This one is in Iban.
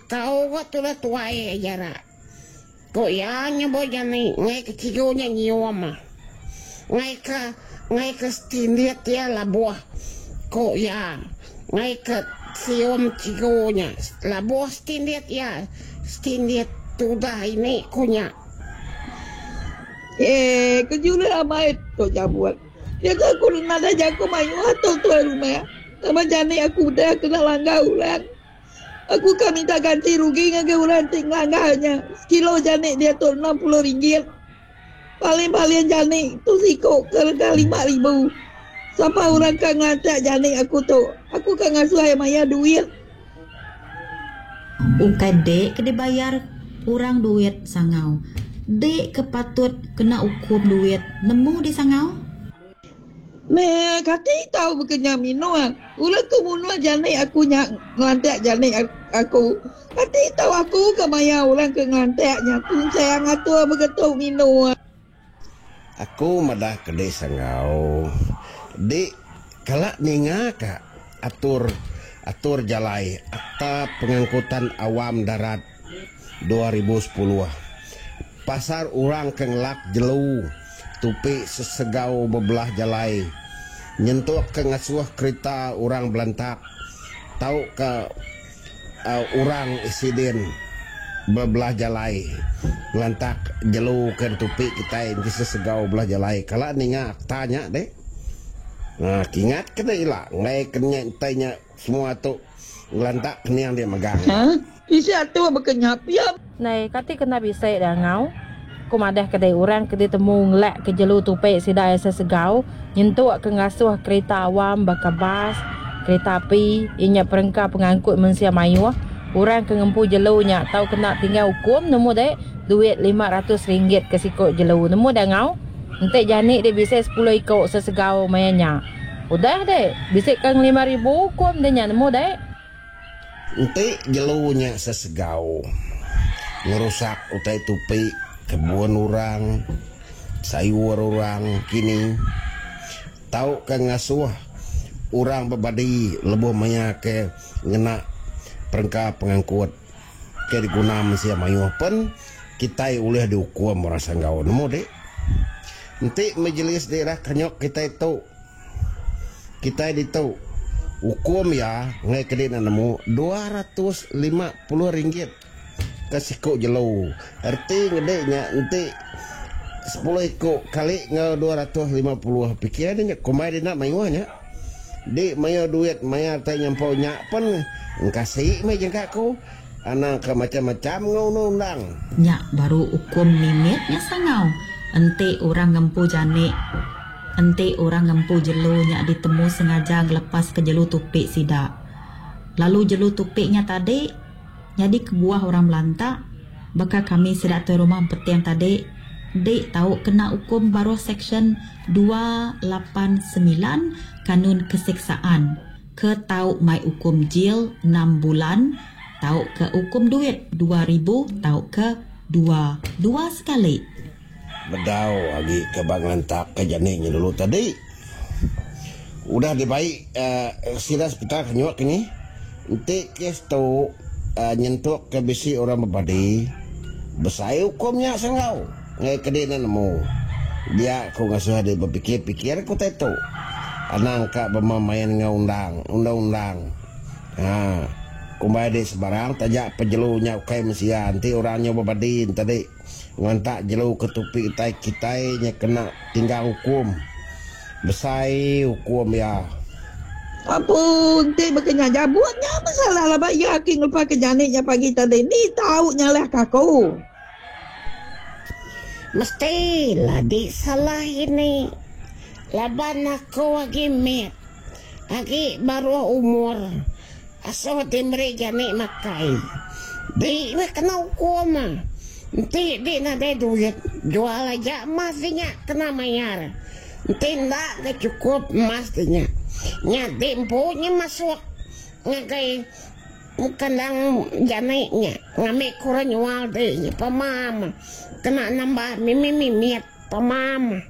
Kekau ga tudah tuai aja ra. Ku iya nyebut jani enggai ke chigu nya nyium. Enggai ke enggai ke setindit iya labuh ku iya. Enggai ke sium chigu nya labuh setindit iya setindit tudah ini ku nya. Eh kejulih amai tu jabut. Diatu aku nadai jaku mayuh tu tuai rumah. Laban jani aku udah kena langgar orang. Aku ka minta ganti rugi ngagai orang ti ngelanggar nya. Sekilo janik diatu 60 ringgit. Paling-paling janik tu siku ke rega 5000. Sapa orang ka ngelantak janik aku tu? Aku ka ngasuh iya mayar duit. Ukai dek ke dibayar orang duit sangau. Dek ke patut kena ukum duit nemu di sangau. Meh kati tau bekenya minung. Ulah ke munuh janik aku nya ngelantak janik aku. Kati tau aku ke maya orang ke ngelantak nya tunsang atur begetu minung. Aku madah ke dek sanggau dek kala ninga ka atur atur jalai Akta Pengangkutan Awam Darat 2010 pasal orang ke ngelak jelu tupi sesegau bebelah jalai nyentuk ke ngasuh kerita orang belantak tauka orang isiden bebelah jalai ngelantak jelu ke ditupi kitai enti sesegau belah jalai kala ninga akta nya deh. Kingat ke deh ila enggai ke nya entai nya semua tu ngelantak kening dia megang. Bisi atur baka nya pia. Nai, kati kena bisi dah ngau? Ku madah ke dei orang ke ditemu ngelak ke jelu tupi sida iya sesegau nyentuk ke ngasuh kerita awam baka bas, kerita api, iya nya perengka pengangkut mensia mayuh, orang ke ngempu jelu nya tau kena tinggal ukum nemu dei duit RM500 ke siku jelu nemu dah ngau. Enti jani dei bisi sepuluh iku sesegau maya nya. Udah dei, bisi ke ngelima ribu ukum dei nya nemu dei. Enti jelu nya sesegau ngerusak utai tupi kebun orang, sayur orang kini, tauka ngasuh orang bebadi lebuh maya ke ngena perengka pengangkut ke diguna mensia mayuh pen kitai ulih diukum orang sanggau nemu dik. Enti Majlis Daerah Kenyok kitai tu. Kitai ditu, ukum iya enggai ke dina nemu RM250 ke siku jelu. Reti ngedi nya enti sepuluh iku kali enggau 250 pikir ne nya kumbai dina mayuh nya. Di mayuh duit mayar tai nyampau nya pen engkasi meh jangka ku. Anang ke macam-macam enggau undang-undang. Nya baru ukum mimit nya sangau enti orang ngempu janik. Enti orang ngempu jelu nya ditemu sengaja ngelepaska jelu tupi sida. Lalu jelu tupi nya tadi nyadi kebuah orang belantak baka kami sida tuai rumah empeting tadi dik tau kena ukum baruh seksyen 289 Kanun Keseksaan ke tau mai ukum jil enam bulan tauka ukum duit 2000 tauka dua dua sekali. Bedau agi ke ba ngelantak ke jani nya dulu tadi. Udah dibai sida sepital ke nyuak ke ni. Enti kes tu nyentuk ke bisi orang bebadi, besai ukum nya sanggau ngagai ke di enda nemu. Dia ku ngasuh diri bepikir-pikir ke utai tu. Anang ka bemain enggau undang, undang-undang. Haa. Kumbai diri sebarang taja pejelu nya ukai mensia enti orang nyau bebadi enti. Ngantak jelu ke tupi utai kitai nya kena tinggang ukum. Besai ukum iya. Apu enti baka nya jabut nya meh salah laban iya agi ngelepas ke janik nya pagi tadi ni tau nyalah ke aku. Mesti la di salah ini laban aku agi mit agi baruh umur. Asuh ti meri jani makai. Di meh kena ukum. Enti di nadai duit, jual aja emas di nya kena mayar. Enti enda ga chukup emas di nya, nya di empu nya masuk ngagai kandang jani nya ngambi ke orang nyual di nya pemam kena nambah mimit-mimit pemam.